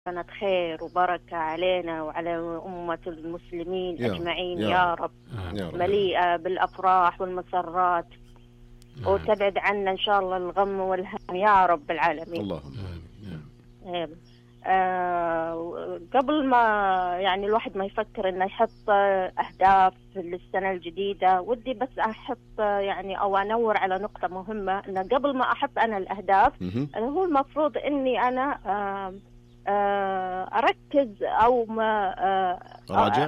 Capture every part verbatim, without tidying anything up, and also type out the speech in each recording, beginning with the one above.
سنة خير وبركة علينا وعلى أمة المسلمين يا أجمعين يا يا رب. رب، يا رب. مليئة بالأفراح والمسرات، وتبعد عنا إن شاء الله الغم والهم يا رب العالمين. اللهم آمين. آه قبل ما يعني الواحد ما يفكر إنه يحط أهداف للسنة الجديدة، ودي بس أحط يعني أو أنور على نقطة مهمة، إنه قبل ما أحط أنا الأهداف أنا هو المفروض إني أنا آه آه أركز أو ما آه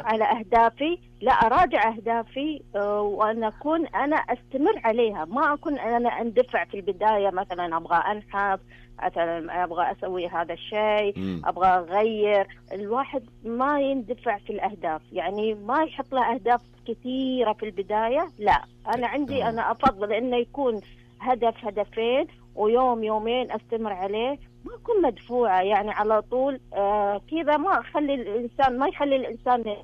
على أهدافي، لا أراجع أهدافي آه وأن أكون أنا أستمر عليها، ما أكون أنا أندفع في البداية مثلا أبغى أنحف، مثلا أبغى أسوي هذا الشيء، أبغى أغير. الواحد ما يندفع في الأهداف، يعني ما يحط له أهداف كثيرة في البداية، لا أنا عندي أنا أفضل إنه يكون هدف هدفين ويوم يومين أستمر عليه، ما أكون مدفوعة يعني على طول آه كذا، ما أخلي الإنسان ما يخلي الإنسان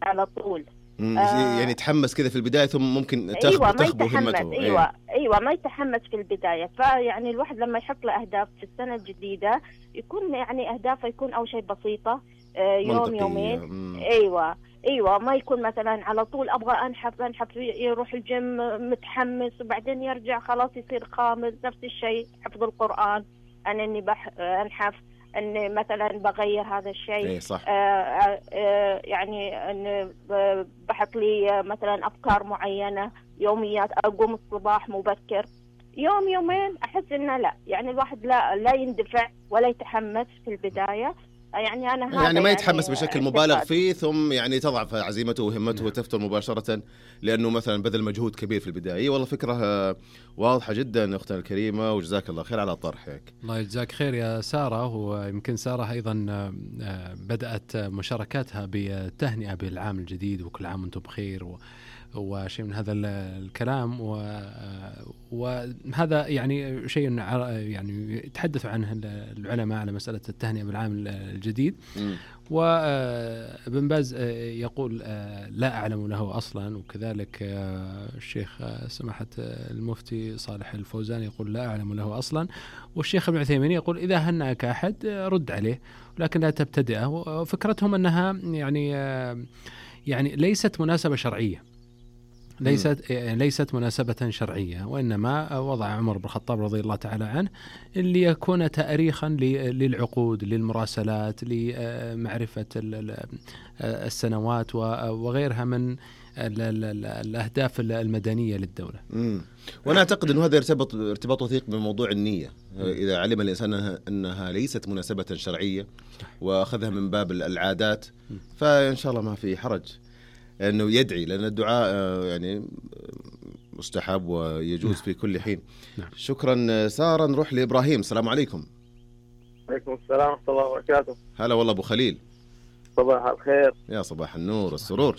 على طول آه يعني يتحمس كذا في البداية ثم ممكن تخبو أيوة تخبو همته. أيوة أيه. أيوة ما يتحمس في البداية. فيعني الواحد لما يحط له أهداف في السنة الجديدة يكون يعني أهدافه يكون أول شيء بسيطة آه يوم يومين. مم. أيوة أيوة ما يكون مثلا على طول أبغى أنحف أنحف يروح الجيم متحمس وبعدين يرجع خلاص يصير خامل. نفس الشيء حفظ القرآن، أنا إني بح أنحف أني مثلا بغير هذا الشيء. إيه صح. آه آه يعني أن بحط لي مثلا أفكار معينة يوميات، أقوم الصباح مبكر يوم يومين أحس إنه لا يعني الواحد لا لا يندفع ولا يتحمس في البداية. يعني أنا هذا يعني ما يتحمس يعني بشكل مبالغ فيه ثم يعني تضعف عزيمته وهمته نعم. وتفتر مباشرة لأنه مثلا بذل مجهود كبير في البداية. والله فكرة واضحة جدا أختنا الكريمة، وجزاك الله خير على طرحك. الله يجزاك خير يا سارة. ويمكن سارة أيضا بدأت مشاركاتها بالتهنئة بالعام الجديد وكل عام وانتم بخير و وشيء من هذا الكلام، وهذا يعني شيء يعني يتحدث عنه العلماء على مسألة التهنئة بالعام الجديد. وابن باز يقول لا أعلم له أصلا، وكذلك الشيخ سماحة المفتي صالح الفوزان يقول لا أعلم له أصلا، والشيخ ابن عثيمين يقول إذا هنأك أحد رد عليه ولكن لا تبتدئه. وفكرتهم أنها يعني يعني ليست مناسبة شرعية، ليست ليست مناسبة شرعية، وإنما وضع عمر بن الخطاب رضي الله تعالى عنه اللي يكون تأريخا للعقود للمراسلات لمعرفة السنوات وغيرها من الأهداف المدنية للدولة. مم. وأنا أعتقد أنه هذا يرتبط ارتباط وثيق بموضوع النية. إذا علم الإنسان أنها ليست مناسبة شرعية وأخذها من باب العادات فإن شاء الله ما في حرج أنه يدعي، لأن الدعاء يعني مستحب ويجوز في كل حين. نعم. شكرا سارة. نروح لإبراهيم. السلام عليكم. عليكم السلام ورحمة الله وبركاته. هلا والله أبو خليل. صباح الخير. يا صباح النور والسرور.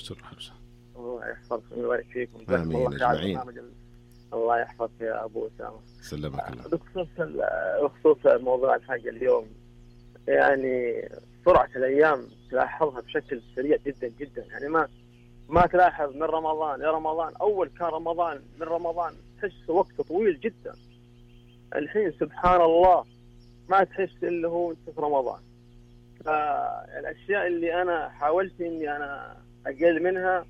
الله يحفظك ويبارك فيكم. آمين أجمعين. الله يحفظك يا أبو أسامة. سلمك الله. بخصوص بخصوص موضوع الحلقة اليوم، يعني سرعة الأيام تلاحظها بشكل سريع جدا جدا، يعني ما ما تلاحظ من رمضان يا رمضان أول كان رمضان من رمضان تحس وقت طويل جدا، الحين سبحان الله ما تحس إلا هو أنت في رمضان. فالأشياء اللي أنا حاولت إني أنا أقل منها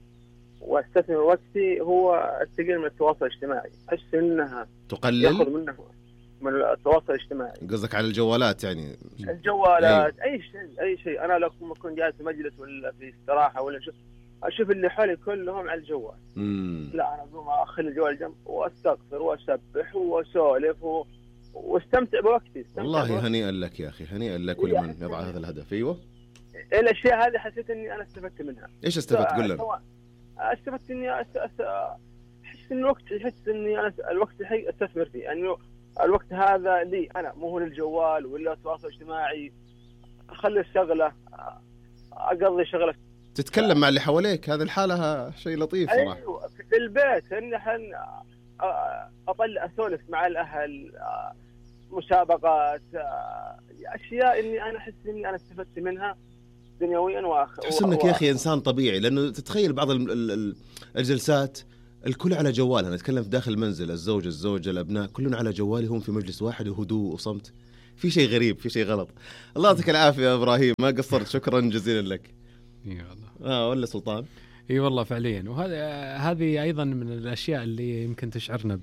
واستثمر وقتي هو التقليل من التواصل الاجتماعي. أحس إنها تقلل يأخذ منه من التواصل الاجتماعي. قصدك على الجوالات؟ يعني الجوالات أي, أي شيء أي شيء. أنا لو أكون جالس في مجلس ولا في استراحة ولا شو أشوف اللي حولي كلهم على الجوال. مم. لا أنا أقوم أخلي الجوال جنب وأستغفر وأسبح وأسولف و... واستمتع بوقتي. والله هنيئا لك يا أخي، هنيئا لك ولمن يضع هذا الهدف. أيوة الأشياء هذه حسيت إني أنا استفدت منها. إيش استفدت؟ قل لنا. استفدت إني أس... أس... أحس إن الوقت أحس إني أنا الوقت الحين أستثمر فيه، أنه يعني الوقت هذا لي أنا مو هو للجوال ولا التواصل الاجتماعي. أخلي الشغلة أقضي شغلة تتكلم مع اللي حواليك. هذه الحالة شيء لطيف صراحة. أيوة في البيت إن حن أطلع أسولف مع الأهل، مسابقات، أشياء إني أنا أحس إني أنا استفدت منها دنيويا وآخر. تحس إنك يا أخي إنسان طبيعي، لأنه تتخيل بعض الجلسات الكل على جوالها. نتكلم في داخل المنزل، الزوج الزوجة الأبناء كلهم على جوالهم في مجلس واحد وهدوء وصمت. في شيء غريب، في شيء غلط. الله يعطيك العافيه يا ابراهيم، ما قصرت، شكرا جزيلا لك. اي والله. اه ولا سلطان؟ اي والله فعليا. وهذا هذه ايضا من الاشياء اللي يمكن تشعرنا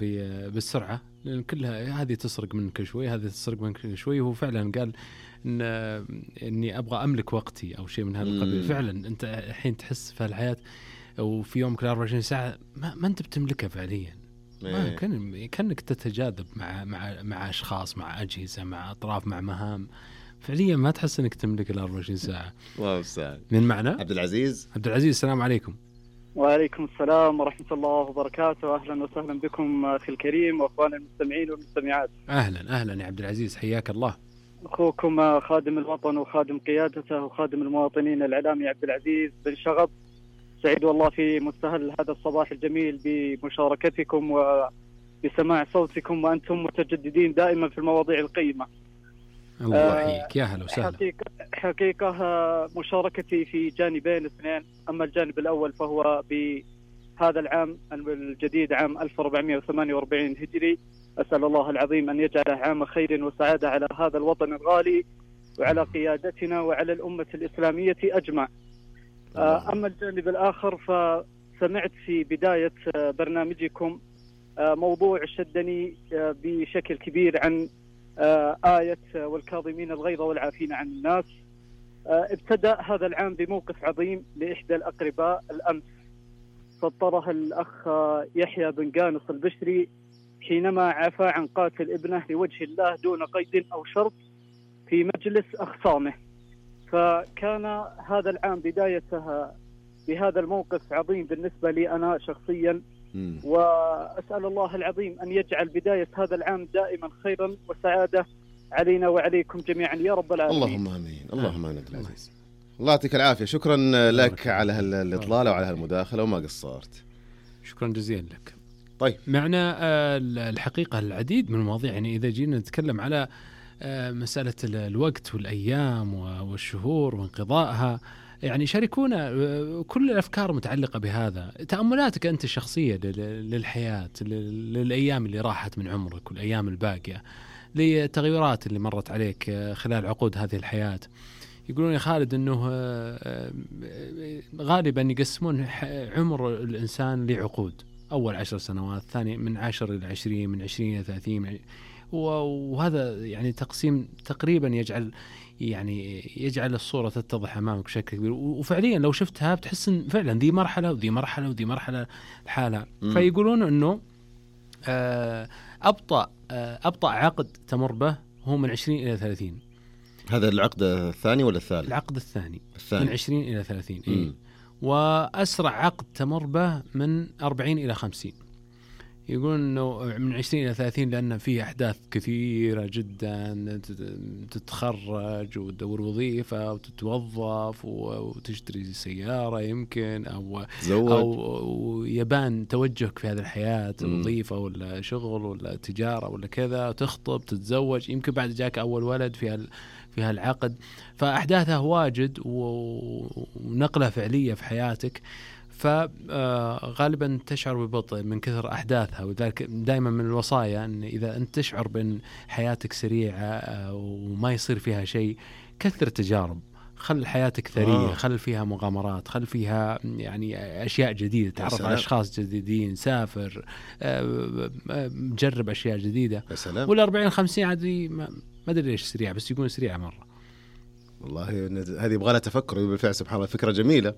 بالسرعه، لان كلها هذه تسرق منك شوي، هذه تسرق منك شوي. وهو فعلا قال ان اني ابغى املك وقتي او شيء من هذا القبيل. فعلا انت الحين تحس في الحياه وفي يومك أربعة وعشرين ساعه ما, ما انت بتملكها فعليا. ما كان كانك تتجاذب مع مع مع اشخاص، مع اجهزه، مع اطراف، مع مهام. فعليا ما تحس انك تملك ال أربعة وعشرين ساعه. الله يستعان. من معنا عبد العزيز. عبد العزيز السلام عليكم. وعليكم السلام ورحمه الله وبركاته. اهلا وسهلا بكم اخي الكريم واخوان المستمعين والمستمعات. اهلا اهلا يا عبد العزيز، حياك الله. اخوكم خادم الوطن وخادم قيادته وخادم المواطنين الاعلامي عبد العزيز بن شغب. سعيد والله في مستهل هذا الصباح الجميل بمشاركتكم وبسماع صوتكم، وأنتم متجددين دائما في المواضيع القيمة. الله يحييك، يا هلا وسهلا. حقيقة, حقيقة مشاركتي في جانبين اثنين. أما الجانب الأول فهو بهذا العام الجديد، عام ألف وأربعمائة وثمانية وأربعين هجري. أسأل الله العظيم أن يجعله عام خير وسعادة على هذا الوطن الغالي وعلى قيادتنا وعلى الأمة الإسلامية أجمع. أما الجانب الآخر فسمعت في بداية برنامجكم موضوع شدني بشكل كبير عن آية والكاظمين الغيظ والعافين عن الناس. ابتدأ هذا العام بموقف عظيم لإحدى الأقرباء الأمس سطرها الأخ يحيى بن قانص البشري حينما عفى عن قاتل ابنه لوجه الله دون قيد أو شرط في مجلس أخصامه. فكان هذا العام بدايتها بهذا الموقف عظيم بالنسبة لي أنا شخصيا، وأسأل الله العظيم أن يجعل بداية هذا العام دائما خيرا وسعادة علينا وعليكم جميعا يا رب العالمين. اللهم آمين. اللهم آمين. العزيز الله يعطيك العافية. شكرا لك على الإطلالة وعلى هالمداخلة وما قصرت. شكرا جزيلا لك. طيب معنا الحقيقة العديد من المواضيع، يعني إذا جينا نتكلم على مسألة الوقت والأيام والشهور وانقضائها، يعني شاركونا كل الأفكار متعلقة بهذا. تأملاتك أنت الشخصية للحياة، للأيام اللي راحت من عمرك والأيام الباقية، للتغيرات اللي مرت عليك خلال عقود هذه الحياة. يقولون يا خالد أنه غالبا يقسمون عمر الإنسان لعقود، أول عشر سنوات، ثاني من عشر إلى عشرين، من عشرين إلى ثلاثين، وهذا يعني تقسيم تقريبا يجعل يعني يجعل الصورة تتضح أمامك بشكل كبير. وفعليا لو شفتها بتحس إن فعلا ذي مرحلة وذي مرحلة وذي مرحلة الحالة. فيقولون إنه أبطأ أبطأ عقد تمر به هو من عشرين إلى ثلاثين. هذا العقد الثاني ولا الثالث؟ العقد الثاني, الثاني. من عشرين إلى ثلاثين. إيه؟ وأسرع عقد تمر به من أربعين إلى خمسين. يقولون أنه من عشرين إلى ثلاثين لأن فيه أحداث كثيرة جدا، تتخرج وتدور وظيفة وتتوظف وتشتري سيارة يمكن، أو زوج. أو يبان توجهك في هذه الحياة، وظيفة ولا شغل ولا تجارة ولا كذا، تخطب تتزوج، يمكن بعد جاك أول ولد في هال في هالعقد. فأحداثها واجد ونقلة فعلية في حياتك، فغالبا تشعر ببطء من كثر أحداثها. وذلك دائما من الوصايا أن إذا أنت تشعر بأن حياتك سريعة وما يصير فيها شيء، كثر تجارب، خل حياتك ثرية، آه. خل فيها مغامرات، خل فيها يعني أشياء جديدة، تعرف على أشخاص جديدين، سافر، جرب أشياء جديدة. والأربعين خمسين عادي ما أدري ليش سريعة، بس يكون سريعة مرة. والله هذه يبغى لها تفكر بالفعل. سبحان الله، فكرة جميلة.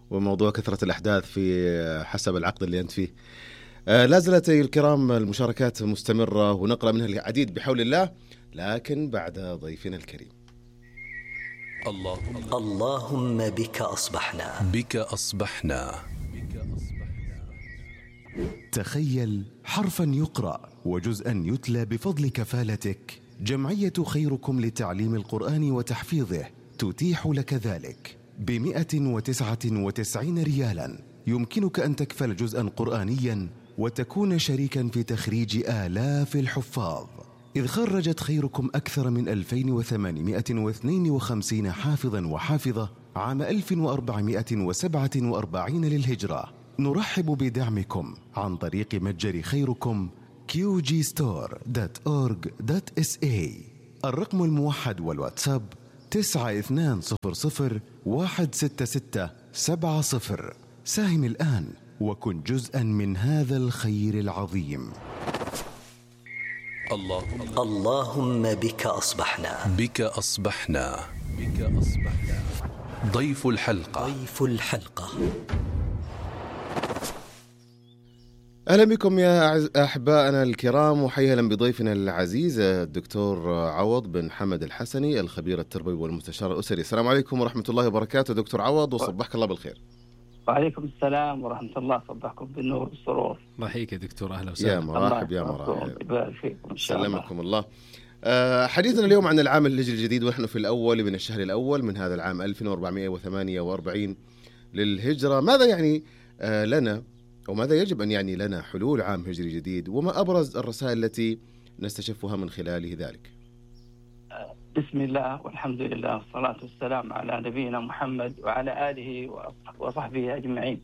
وموضوع كثرة الأحداث في حسب العقد اللي أنت فيه. آه لا زالت الكرام المشاركات مستمرة ونقرأ منها العديد بحول الله، لكن بعد ضيفنا الكريم. اللهم اللهم بك أصبحنا بك أصبحنا تخيل حرفا يقرأ وجزءا يتلى بفضل كفالتك. جمعية خيركم لتعليم القرآن وتحفيظه تتيح لك ذلك بمئة وتسعة وتسعين ريالا. يمكنك أن تكفل جزءا قرآنيا وتكون شريكا في تخريج آلاف الحفاظ، إذ خرجت خيركم أكثر من ألفين وثمانمائة واثنين وخمسين حافظا وحافظة عام ألف وأربعمائة وسبعة وأربعين للهجرة. نرحب بدعمكم عن طريق متجر خيركم كيو جي ستور دوت أورج دوت إس إيه. الرقم الموحد والواتساب تسعة اثنان صفر صفر واحد ستة ستة سبعة صفر. ساهم الآن وكن جزءا من هذا الخير العظيم. اللهم اللهم بك أصبحنا بك أصبحنا بك أصبحنا. ضيف الحلقة ضيف الحلقة أهلا بكم يا أحبائنا الكرام، وحيا أهلا بضيفنا العزيز الدكتور عوض بن حمد الحسني، الخبير التربوي والمستشار الأسري. السلام عليكم ورحمة الله وبركاته دكتور عوض، وصبحك الله بالخير. وعليكم السلام ورحمة الله، صبحكم بالنور والسرور. الله يحييك يا دكتور، أهلا وسهلا. يا مرحب يا مرحب، يبارك فيكم إن شاء الله. سلمكم الله. أه حديثنا اليوم عن العام الهجري الجديد، ونحن في الأول من الشهر الأول من هذا العام ألف وأربعمائة وثمانية وأربعين للهجرة. ماذا يعني أه لنا، وماذا يجب أن يعني لنا حلول عام هجري جديد، وما أبرز الرسائل التي نستشفها من خلاله ذلك؟ بسم الله والحمد لله والصلاة والسلام على نبينا محمد وعلى آله وصحبه أجمعين.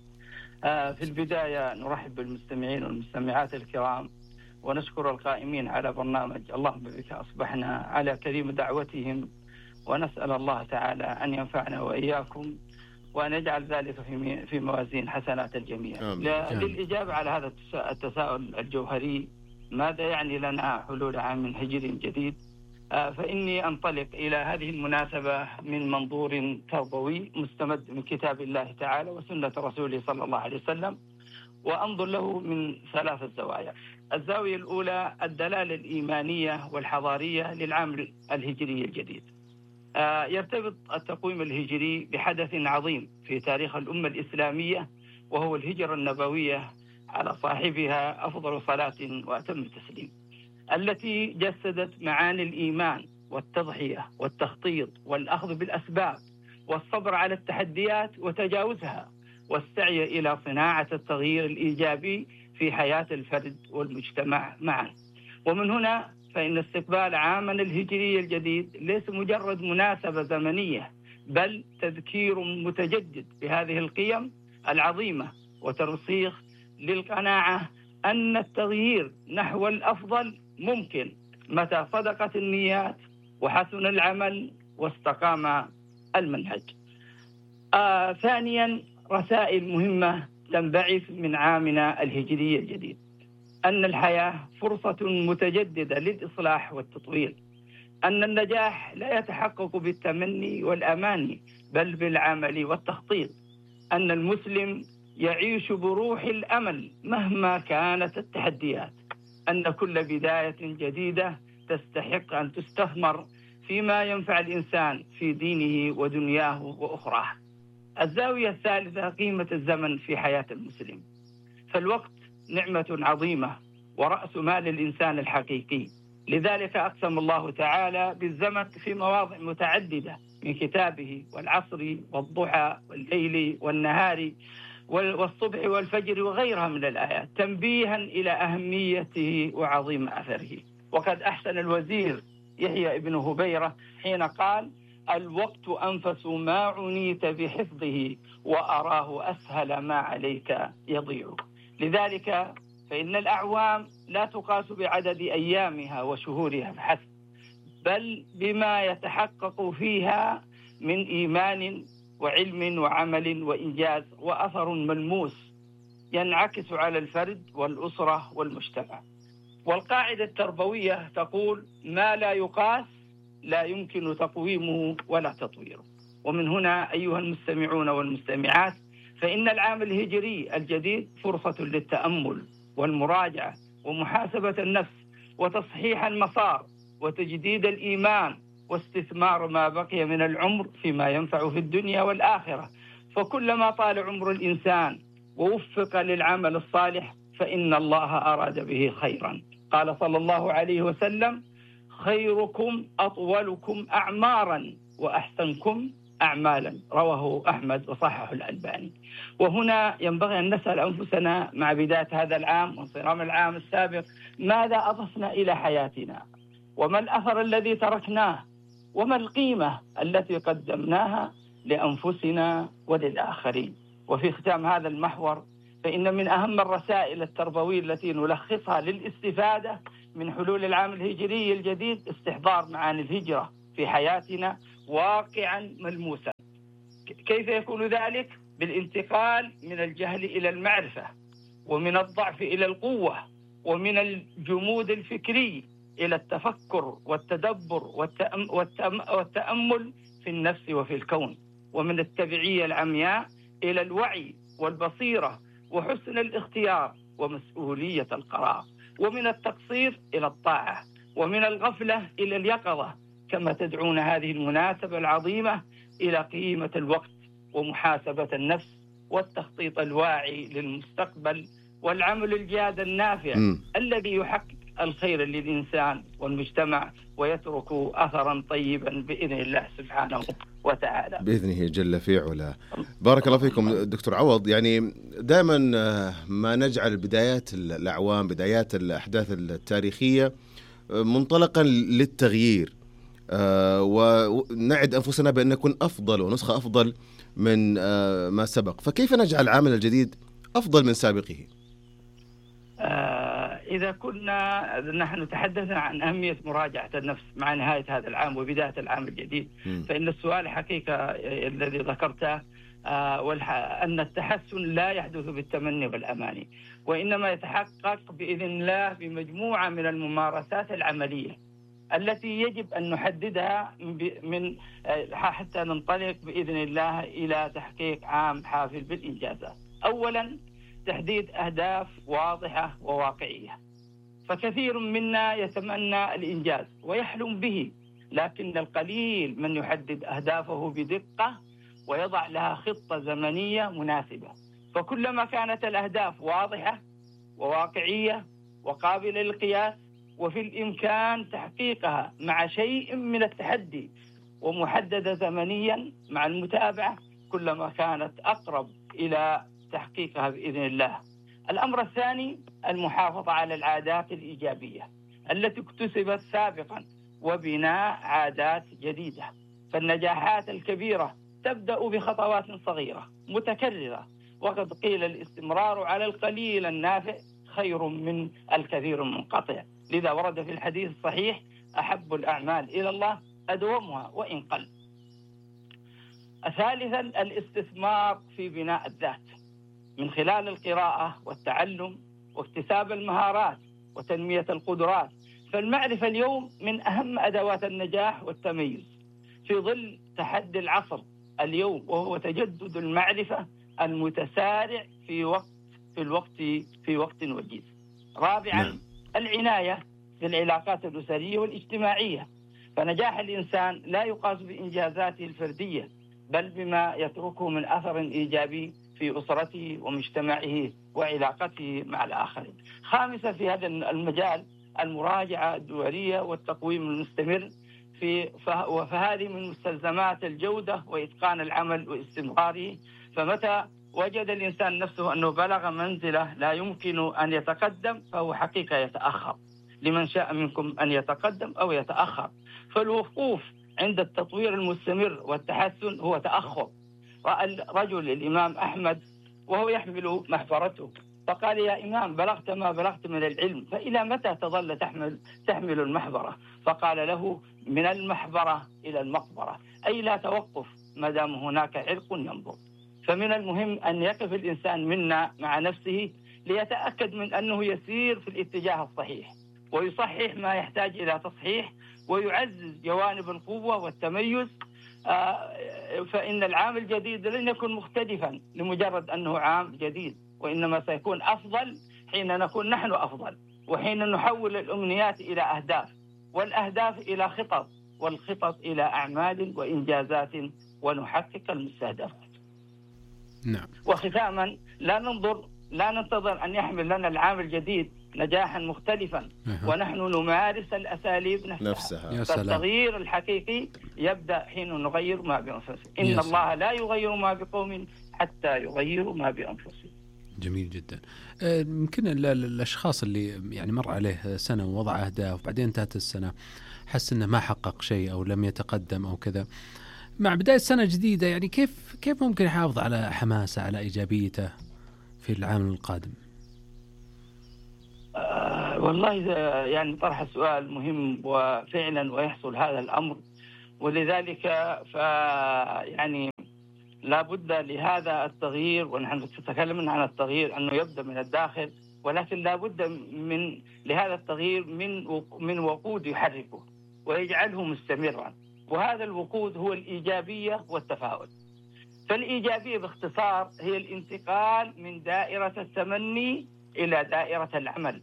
في البداية نرحب بالمستمعين والمستمعات الكرام، ونشكر القائمين على برنامج اللهم بك أصبحنا على كريم دعوتهم، ونسأل الله تعالى أن ينفعنا وإياكم وأن يجعل ذلك في في موازين حسنات الجميع. للإجابة على هذا التساؤل الجوهري، ماذا يعني لنا حلول عام هجري جديد؟ فإني أنطلق إلى هذه المناسبة من منظور تربوي مستمد من كتاب الله تعالى وسنة رسوله صلى الله عليه وسلم، وأنظر له من ثلاثة زوايا. الزاوية الأولى الدلالة الإيمانية والحضارية للعام الهجري الجديد. يرتبط التقويم الهجري بحدث عظيم في تاريخ الأمة الإسلامية، وهو الهجرة النبوية على صاحبها أفضل صلاة وأتم التسليم، التي جسدت معاني الإيمان والتضحية والتخطيط والأخذ بالأسباب والصبر على التحديات وتجاوزها، والسعي إلى صناعة التغيير الإيجابي في حياة الفرد والمجتمع معا. ومن هنا فإن استقبال عامنا الهجري الجديد ليس مجرد مناسبة زمنية، بل تذكير متجدد بهذه القيم العظيمة، وترسيخ للقناعة أن التغيير نحو الأفضل ممكن متى صدقت النيات وحسن العمل واستقام المنهج. آه ثانيا، رسائل مهمة تنبعث من عامنا الهجري الجديد: أن الحياة فرصة متجددة للإصلاح والتطوير، أن النجاح لا يتحقق بالتمني والأماني بل بالعمل والتخطيط، أن المسلم يعيش بروح الأمل مهما كانت التحديات، أن كل بداية جديدة تستحق أن تستثمر فيما ينفع الإنسان في دينه ودنياه وأخراه. الزاوية الثالثة قيمة الزمن في حياة المسلم، فالوقت نعمة عظيمة ورأس مال الإنسان الحقيقي، لذلك أقسم الله تعالى بالزمن في مواضع متعددة من كتابه: والعصر والضحى والليل والنهار والصبح والفجر وغيرها من الآيات، تنبيها إلى أهميته وعظيم أثره. وقد أحسن الوزير يحيى ابن هبيرة حين قال: الوقت أنفس ما عنيت بحفظه وأراه أسهل ما عليك يضيع. لذلك فإن الأعوام لا تقاس بعدد أيامها وشهورها فحسب، بل بما يتحقق فيها من إيمان وعلم وعمل وإنجاز وأثر ملموس ينعكس على الفرد والأسرة والمجتمع. والقاعدة التربوية تقول: ما لا يقاس لا يمكن تقويمه ولا تطويره. ومن هنا أيها المستمعون والمستمعات، فإن العام الهجري الجديد فرصة للتأمل والمراجعة ومحاسبة النفس وتصحيح المسار وتجديد الإيمان واستثمار ما بقي من العمر فيما ينفع في الدنيا والآخرة. فكلما طال عمر الإنسان ووفق للعمل الصالح فإن الله أراد به خيرا. قال صلى الله عليه وسلم: خيركم أطولكم أعمارا وأحسنكم أعمالا، رواه أحمد وصححه الألباني. وهنا ينبغي أن نسأل أنفسنا مع بداية هذا العام وانصرام العام السابق: ماذا أضفنا إلى حياتنا؟ وما الأثر الذي تركناه؟ وما القيمة التي قدمناها لأنفسنا وللآخرين؟ وفي ختام هذا المحور، فإن من أهم الرسائل التربوية التي نلخصها للاستفادة من حلول العام الهجري الجديد استحضار معاني الهجرة في حياتنا واقعا ملموسا. كيف يكون ذلك؟ بالانتقال من الجهل إلى المعرفة، ومن الضعف إلى القوة، ومن الجمود الفكري إلى التفكر والتدبر والتأم والتأم والتأمل في النفس وفي الكون، ومن التبعية العمياء إلى الوعي والبصيرة وحسن الاختيار ومسؤولية القرار، ومن التقصير إلى الطاعة، ومن الغفلة إلى اليقظة، كما تدعون هذه المناسبة العظيمة إلى قيمة الوقت ومحاسبة النفس والتخطيط الواعي للمستقبل والعمل الجاد النافع م. الذي يحقق الخير للإنسان والمجتمع ويترك أثرا طيبا بإذن الله سبحانه وتعالى بإذنه جل في علا. بارك الله فيكم دكتور عوض. يعني دائما ما نجعل بدايات الأعوام، بدايات الأحداث التاريخية منطلقا للتغيير، ونعد أنفسنا بأن نكون أفضل ونسخة أفضل من ما سبق، فكيف نجعل العام الجديد أفضل من سابقه؟ آه إذا كنا نحن تحدثنا عن أهمية مراجعة النفس مع نهاية هذا العام وبداية العام الجديد، م. فإن السؤال حقيقة الذي ذكرته آه أن التحسن لا يحدث بالتمني والأماني، وإنما يتحقق بإذن الله بمجموعة من الممارسات العملية التي يجب أن نحددها من حتى ننطلق بإذن الله إلى تحقيق عام حافل بالإنجازات. أولا تحديد أهداف واضحة وواقعية، فكثير منا يتمنى الإنجاز ويحلم به، لكن القليل من يحدد أهدافه بدقة ويضع لها خطة زمنية مناسبة. فكلما كانت الأهداف واضحة وواقعية وقابلة للقياس وفي الإمكان تحقيقها مع شيء من التحدي ومحددة زمنيا مع المتابعة، كلما كانت أقرب إلى تحقيقها بإذن الله. الأمر الثاني المحافظة على العادات الإيجابية التي اكتسبت سابقا وبناء عادات جديدة. فالنجاحات الكبيرة تبدأ بخطوات صغيرة متكررة، وقد قيل الاستمرار على القليل النافع خير من الكثير المنقطع. لذا ورد في الحديث الصحيح أحب الأعمال إلى الله أدومها وإن قل. ثالثا الاستثمار في بناء الذات من خلال القراءة والتعلم واكتساب المهارات وتنمية القدرات. فالمعرفة اليوم من أهم أدوات النجاح والتميز في ظل تحدي العصر اليوم، وهو تجدد المعرفة المتسارع في وقت في الوقت في وقت وجيز. رابعا نعم. العناية بالعلاقات الأسرية والاجتماعية، فنجاح الإنسان لا يقاس بإنجازاته الفردية بل بما يتركه من أثر إيجابي في أسرته ومجتمعه وعلاقته مع الآخرين. خامسا في هذا المجال المراجعة الدورية والتقويم المستمر في فهذه من مستلزمات الجودة وإتقان العمل واستمراره. فمتى وجد الإنسان نفسه أنه بلغ منزلة لا يمكن أن يتقدم فهو حقيقة يتأخر. لمن شاء منكم أن يتقدم أو يتأخر، فالوقوف عند التطوير المستمر والتحسن هو تأخر. رأى رجل الإمام أحمد وهو يحمل محبرته فقال: يا إمام، بلغت ما بلغت من العلم، فإلى متى تظل تحمل تحمل المحبرة؟ فقال له: من المحبرة إلى المقبرة، أي لا توقف ما دام هناك عرق ينبض. فمن المهم أن يقف الإنسان منا مع نفسه ليتأكد من أنه يسير في الاتجاه الصحيح، ويصحح ما يحتاج إلى تصحيح، ويعزز جوانب القوة والتميز. فإن العام الجديد لن يكون مختلفا لمجرد أنه عام جديد، وإنما سيكون أفضل حين نكون نحن أفضل، وحين نحول الأمنيات إلى أهداف، والأهداف إلى خطط، والخطط إلى أعمال وإنجازات، ونحقق المستهدفات. نعم. وختاما لا ننظر لا ننتظر أن يحمل لنا العام الجديد نجاحا مختلفا أه. ونحن نمارس الأساليب نفسها, نفسها. فالتغيير الحقيقي يبدأ حين نغير ما بأنفسنا. إن الله لا يغير ما بقوم حتى يغيروا ما بأنفسهم. جميل جدا. يمكن الأشخاص اللي يعني مر عليه سنة ووضع أهداف وبعدين انتهت السنة حس إنه ما حقق شيء أو لم يتقدم أو كذا، مع بداية سنة جديدة يعني كيف كيف ممكن يحافظ على حماسه، على إيجابيته في العام القادم؟ والله يعني طرح السؤال مهم وفعلا ويحصل هذا الأمر، ولذلك ف يعني لا بد لهذا التغيير، ونحن نتكلم عن التغيير أنه يبدأ من الداخل، ولكن لا بد من لهذا التغيير من من وقود يحركه ويجعله مستمرا، وهذا الوقود هو الإيجابية والتفاؤل. فالإيجابية باختصار هي الانتقال من دائرة التمني إلى دائرة العمل،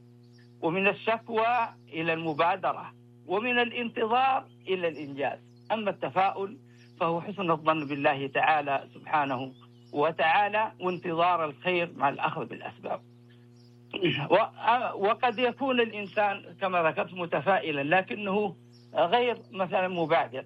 ومن الشكوى إلى المبادرة، ومن الانتظار إلى الإنجاز. أما التفاؤل فهو حسن الظن بالله تعالى سبحانه وتعالى وانتظار الخير مع الأخذ بالأسباب. وقد يكون الإنسان كما ذكرت متفائلا لكنه غير مثلا مبادر،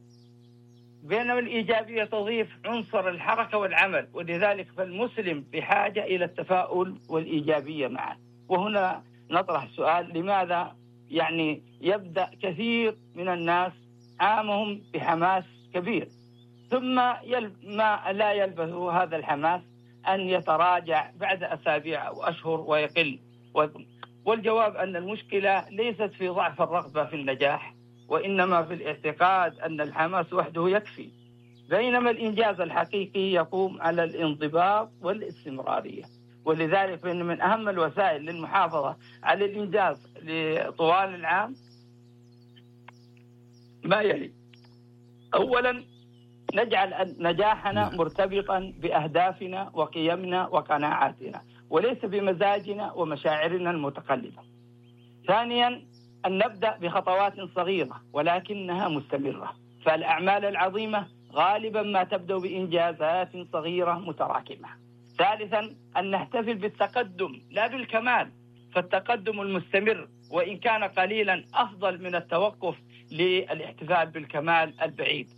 بينما الإيجابية تضيف عنصر الحركة والعمل، ولذلك فالمسلم بحاجة إلى التفاؤل والإيجابية معا. وهنا نطرح السؤال: لماذا يعني يبدأ كثير من الناس عامهم بحماس كبير، ثم ما لا يلبث هذا الحماس أن يتراجع بعد أسابيع أو أشهر ويقل؟ والجواب أن المشكلة ليست في ضعف الرغبة في النجاح، وإنما في الاعتقاد أن الحماس وحده يكفي، بينما الإنجاز الحقيقي يقوم على الانضباط والاستمرارية. ولذلك فإن من أهم الوسائل للمحافظة على الإنجاز طوال العام ما يلي: أولا، نجعل نجاحنا مرتبطا بأهدافنا وقيمنا وقناعاتنا، وليس بمزاجنا ومشاعرنا المتقلبة. ثانيا، أن نبدأ بخطوات صغيرة ولكنها مستمرة، فالأعمال العظيمة غالبا ما تبدأ بإنجازات صغيرة متراكمة. ثالثا، أن نحتفل بالتقدم لا بالكمال، فالتقدم المستمر وإن كان قليلا أفضل من التوقف للاحتفال بالكمال البعيد.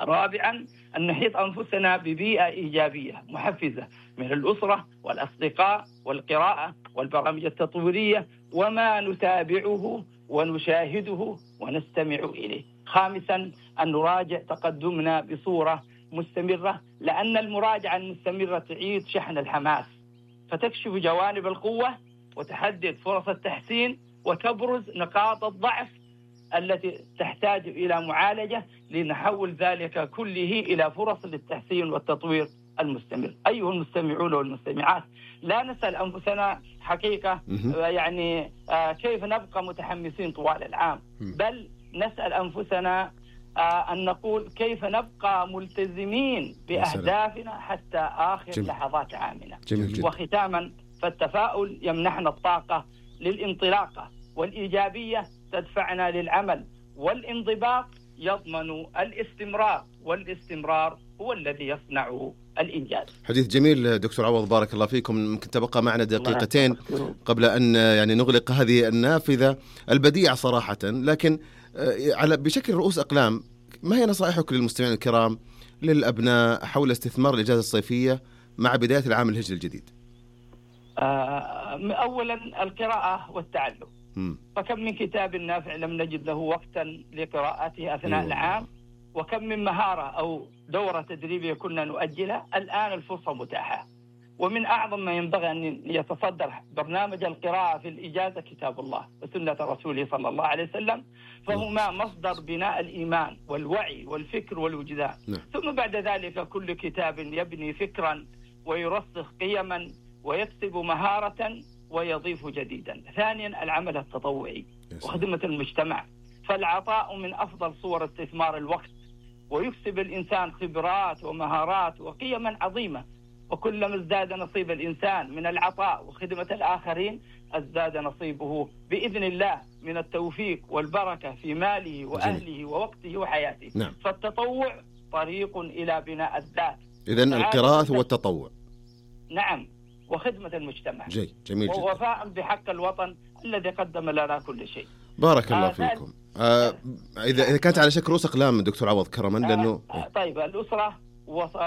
رابعا، أن نحيط أنفسنا ببيئة إيجابية محفزة من الأسرة والأصدقاء والقراءة والبرامج التطويرية وما نتابعه ونشاهده ونستمع إليه. خامسا، أن نراجع تقدمنا بصورة مستمرة، لأن المراجعة المستمرة تعيد شحن الحماس، فتكشف جوانب القوة وتحدد فرص التحسين وتبرز نقاط الضعف التي تحتاج إلى معالجة لنحول ذلك كله إلى فرص للتحسين والتطوير المستمر. أيها المستمعون والمستمعات، لا نسأل أنفسنا حقيقة يعني كيف نبقى متحمسين طوال العام، بل نسأل أنفسنا أن نقول كيف نبقى ملتزمين بأهدافنا حتى آخر جميل. لحظات عامنا. جميل. وختاما، فالتفاؤل يمنحنا الطاقة للانطلاقة، والإيجابية تدفعنا للعمل، والانضباط يضمن الاستمرار، والاستمرار هو الذي يصنع الإنجاز. حديث جميل دكتور عوض، بارك الله فيكم. ممكن تبقى معنا دقيقتين قبل أن يعني نغلق هذه النافذة البديعة صراحة، لكن على بشكل رؤوس أقلام، ما هي نصائحك للمستمعين الكرام للأبناء حول استثمار الإجازة الصيفية مع بداية العام الهجري الجديد؟ أولا، القراءة والتعلم. م. فكم من كتاب نافع لم نجد له وقتا لقراءته أثناء أيوة. العام، وكم من مهارة أو دورة تدريبية كنا نؤجلها، الآن الفرصة متاحة. ومن أعظم ما ينبغي أن يتصدر برنامج القراءة في الإجازة كتاب الله وسنة رسوله صلى الله عليه وسلم، فهما مصدر بناء الإيمان والوعي والفكر والوجدان. م. ثم بعد ذلك كل كتاب يبني فكرا ويرسخ قيما ويكسب مهارة ويضيف جديدا. ثانيا، العمل التطوعي وخدمة المجتمع، فالعطاء من أفضل صور استثمار الوقت، ويكسب الإنسان خبرات ومهارات وقيما عظيمة. وكلما ازداد نصيب الإنسان من العطاء وخدمة الآخرين، ازداد نصيبه بإذن الله من التوفيق والبركة في ماله وأهله ووقته وحياته. نعم. فالتطوع طريق إلى بناء الذات. إذن القراءة والتطوع. نعم، وخدمة المجتمع. جي. جميل جدا. ووفاء بحق الوطن الذي قدم لنا كل شيء. بارك الله آه فيكم. آه إذا إذا كانت على شكل رؤوس أقلام دكتور عوض كرما، لأنه آه طيب، الأسرة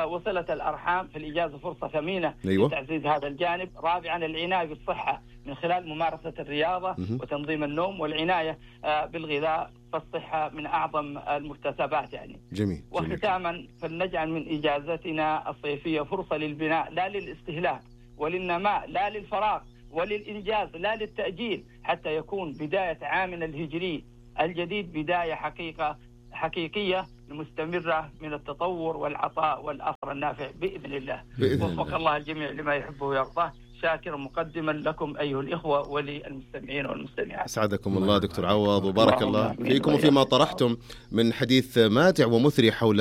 وصلة الأرحام في الإجازة فرصة ثمينة. أيوة. لتعزيز هذا الجانب. رابعا، العناية بالصحة من خلال ممارسة الرياضة م- وتنظيم النوم والعناية آه بالغذاء، فالصحة من أعظم المكتسبات يعني. جميل. وختاما، فلنجعل من إجازتنا الصيفية فرصة للبناء لا للاستهلاك وللنماء لا للفراغ، وللإنجاز لا للتأجيل، حتى يكون بداية عامنا الهجري الجديد بداية حقيقة حقيقية مستمرة من التطور والعطاء والأثر النافع بإذن الله. وفق الله الجميع لما يحبه ويرضاه. شاكرا مقدما لكم أيها الإخوة وللمستمعين والمستمعات. أسعدكم الله دكتور عوض، وبارك الله فيكم وفيما طرحتم من حديث ماتع ومثري حول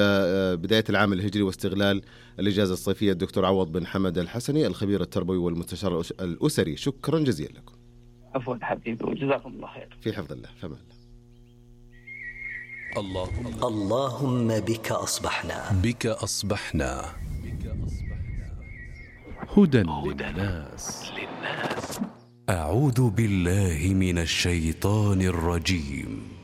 بداية العام الهجري واستغلال الإجازة الصيفية. الدكتور عوض بن حمد الحسني، الخبير التربوي والمستشار الأسري، شكرا جزيلا لكم. عفوا حبيبي وجزاكم الله خير. في حفظ الله. فما الله. اللهم بك أصبحنا. بك أصبحنا. هدى للناس. أعوذ بالله من الشيطان الرجيم.